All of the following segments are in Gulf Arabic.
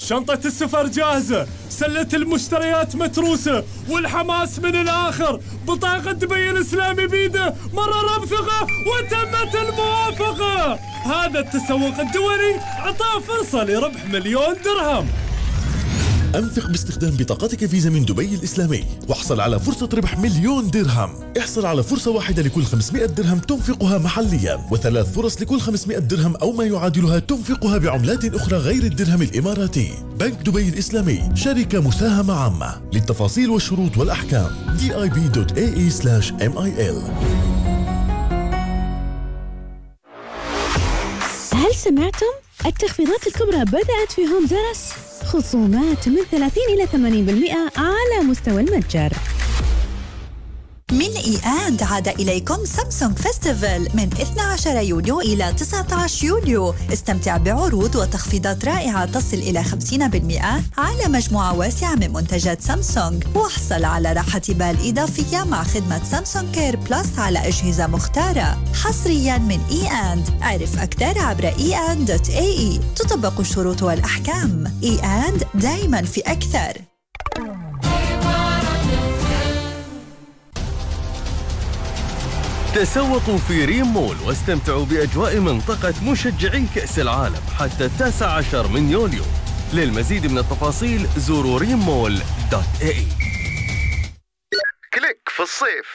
شنطة السفر جاهزة، سلة المشتريات متروسة، والحماس من الآخر. بطاقة دبي الإسلامي بيده، مرر بثقة وتمت الموافقة. هذا التسوق الدولي أعطاه فرصة لربح 1,000,000 درهم. أنفق باستخدام بطاقتك فيزا من دبي الإسلامي واحصل على فرصة ربح 1,000,000 درهم. احصل على فرصة واحدة لكل 500 درهم تنفقها محليا، وثلاث فرص لكل 500 درهم أو ما يعادلها تنفقها بعملات أخرى غير الدرهم الإماراتي. بنك دبي الإسلامي شركة مساهمة عامة. للتفاصيل والشروط والأحكام dib.ae/mil. هل سمعتم؟ التخفيضات الكبرى بدأت في هوم زرس، خصومات من 30 إلى 80% على مستوى المتجر. من إياند عاد إليكم سامسونج فيستيفال من 12 يونيو إلى 19 يوليو. استمتع بعروض وتخفيضات رائعة تصل إلى 50% على مجموعة واسعة من منتجات سامسونج، واحصل على راحة بال إضافية مع خدمة سامسونج كير بلس على أجهزة مختارة حصرياً من إياند. عرف أكثر عبر eand.ae. تطبق الشروط والأحكام. إياند دايماً في أكثر. تسوقوا في ريم مول واستمتعوا بأجواء منطقة مشجعي كأس العالم حتى 19 من يوليو. للمزيد من التفاصيل زوروا rimmall.ae. كليك في الصيف،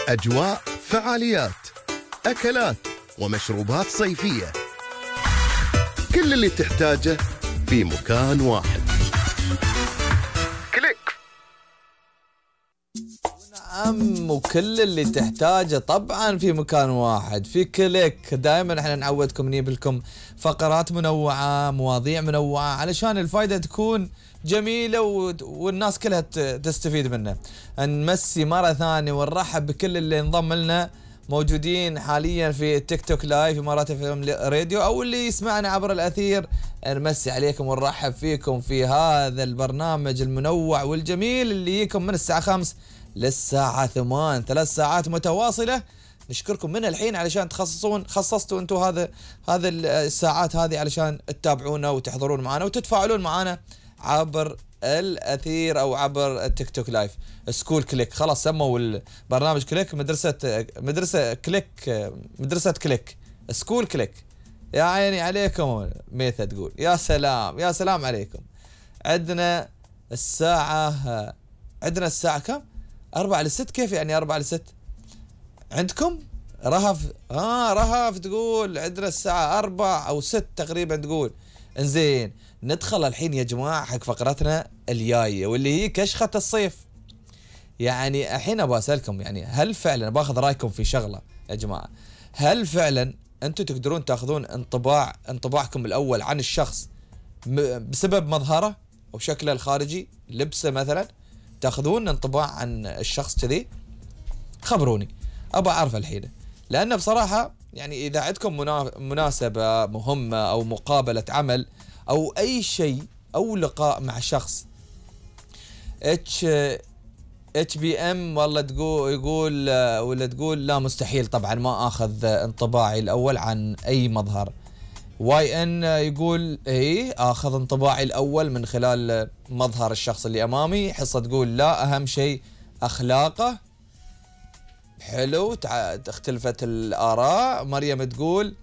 أجواء، فعاليات، أكلات ومشروبات صيفية، كل اللي تحتاجه في مكان واحد. كليك. نعم، وكل اللي تحتاجه طبعا في مكان واحد، في كليك. دائما احنا نعودكم نجيب لكم فقرات منوعة، مواضيع منوعة، علشان الفائدة تكون جميلة والناس كلها تستفيد منها. نمسي مرة ثانية ونرحب بكل اللي انضم لنا، موجودين حاليا في التيك توك لايف إمارات FM راديو، او اللي يسمعنا عبر الأثير. نمسي عليكم ونرحب فيكم في هذا البرنامج المنوع والجميل اللي يجيكم من الساعة 5 للساعة 8، 3 ساعات متواصلة. نشكركم من الحين علشان خصصتوا انتم هذا الساعات هذه علشان تتابعونا وتحضرون معنا وتتفاعلون معنا عبر الأثير او عبر التيك توك لايف. سكول كليك، خلاص سموا البرنامج كليك، مدرسة كليك، سكول كليك. يا عيني عليكم. ميثا تقول يا سلام يا سلام عليكم. عندنا الساعة كم؟ 4 ل6. كيف يعني 4 ل6 عندكم؟ رهف تقول عندنا الساعة 4 أو 6 تقريبا تقول. انزين، ندخل الحين يا جماعة حق فقرتنا الجاية واللي هي كشخة الصيف. يعني الحين أبغى أسألكم، يعني هل فعلا باخذ رأيكم في شغلة يا جماعة، هل فعلا أنتم تقدرون تأخذون انطباعكم الأول عن الشخص بسبب مظهره أو شكله الخارجي، لبسه مثلا؟ تاخذون انطباع عن الشخص كذي؟ خبروني، ابى اعرف الحين. لان بصراحه يعني اذا عندكم مناسبه مهمه او مقابله عمل او اي شيء او لقاء مع شخص HBM والله تقول لا مستحيل طبعا ما اخذ انطباعي الاول عن اي مظهر. YN يقول ايه اخذ انطباعي الاول من خلال مظهر الشخص اللي امامي. حصة تقول لا اهم شيء اخلاقه. حلو، اختلفت الاراء. مريم تقول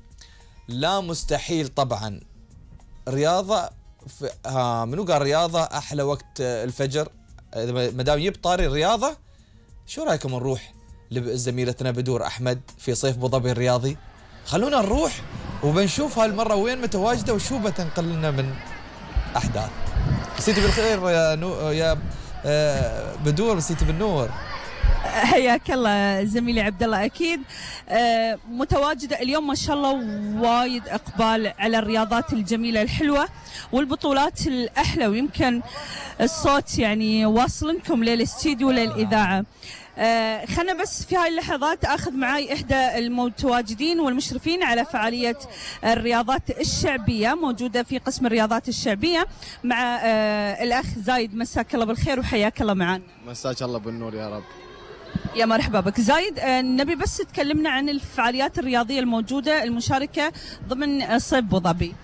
لا مستحيل طبعا. رياضة منو قال رياضة احلى وقت الفجر؟ ما دام يجيب طاري الرياضة، شو رايكم نروح لزميلتنا بدور احمد في صيف ابو ظبي الرياضي؟ خلونا نروح وبنشوف هالمرة وين متواجدة وشو بتنقل لنا من أحداث. مسيتي بالخير يا بدور، مسيتي بالنور. حياك الله زميلي عبد الله. اكيد متواجده اليوم ما شاء الله، وايد اقبال على الرياضات الجميله الحلوه والبطولات الاحلى، ويمكن الصوت يعني واصل لكم للاستديو للاذاعه. خلنا بس في هاي اللحظات اخذ معاي احدى المتواجدين والمشرفين على فعاليه الرياضات الشعبيه، موجوده في قسم الرياضات الشعبيه مع الاخ زايد. مساك الله بالخير وحياك الله معنا. مساك الله بالنور يا رب. يا مرحبا بك زايد. نبي بس تكلمنا عن الفعاليات الرياضيه الموجوده المشاركه ضمن صيف ابو ظبي.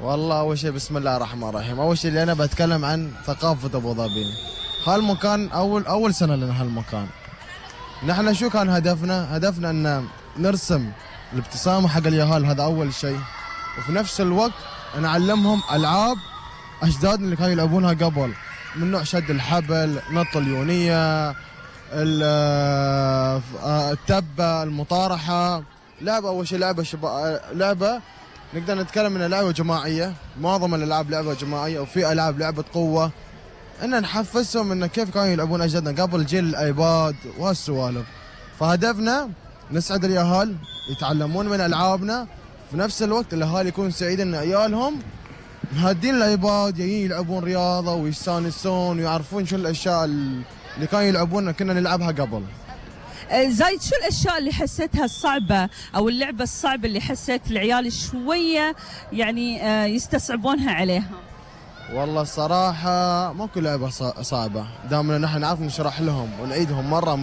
والله أول شيء بسم الله الرحمن الرحيم. أول شيء اللي أنا بتكلم عن ثقافة أبو ظبي. هالمكان أول سنة لنا هالمكان. نحن شو كان هدفنا؟ هدفنا أن نرسم الابتسامة حق اليهال، هذا أول شيء. وفي نفس الوقت نعلمهم ألعاب أجدادنا اللي كانوا يلعبونها قبل، من نوع شد الحبل، نط اليونية، التبة، المطارحة. لعبة أول شيء لعبة نقدر نتكلم انها لعبة جماعية، معظم الألعاب لعبة جماعية، وفي ألعاب لعبة قوة، ان نحفزهم ان كيف كانوا يلعبون أجدادنا قبل جيل الآيباد وهالسوالف. فهدفنا نسعد اليهال يتعلمون من ألعابنا، في نفس الوقت الأهالي يكونوا سعيدين ان عيالهم مهدين الآيباد جايين يلعبون رياضة ويستانسون ويعرفون شو الأشياء اللي كانوا يلعبونها كنا نلعبها قبل. زايد، شو الاشياء اللي حسيتها الصعبه او اللعبه الصعبه اللي حسيت العيال شويه يعني يستصعبونها عليها؟ والله الصراحه ماكو لعبه صعبه، دامنا نحن نعرف نشرح لهم ونعيدهم مره